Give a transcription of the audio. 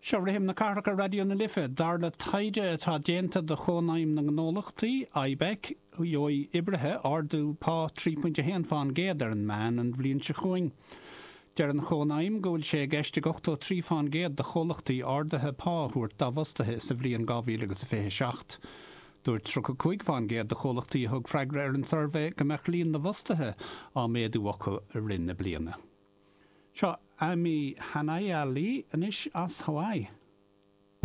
Seo Rithim na Cathrach ar Raidió na Life. Dar le taighde atá déanta do Chónaidhm na nGnólachtaí, IBEC, gheobhaidh oibrithe ardú pá 3.1 fán gcéad ar an meán an bhliain seo chugainn. Deir an Chónaidhm go bhfuil sé i gceist ag 83 fán gcéad de chomhlachtaí arduithe pá a thabhairt dá bhfostaithe sa bhliain 2027. Dúirt 35 fán gcéad de chomhlachtaí a thug freagra ar an suirbhé go mbeadh líon na bhfostaithe á méadú acu i rith na bliana. Seo Amy Hanaialii anois as Hawaii.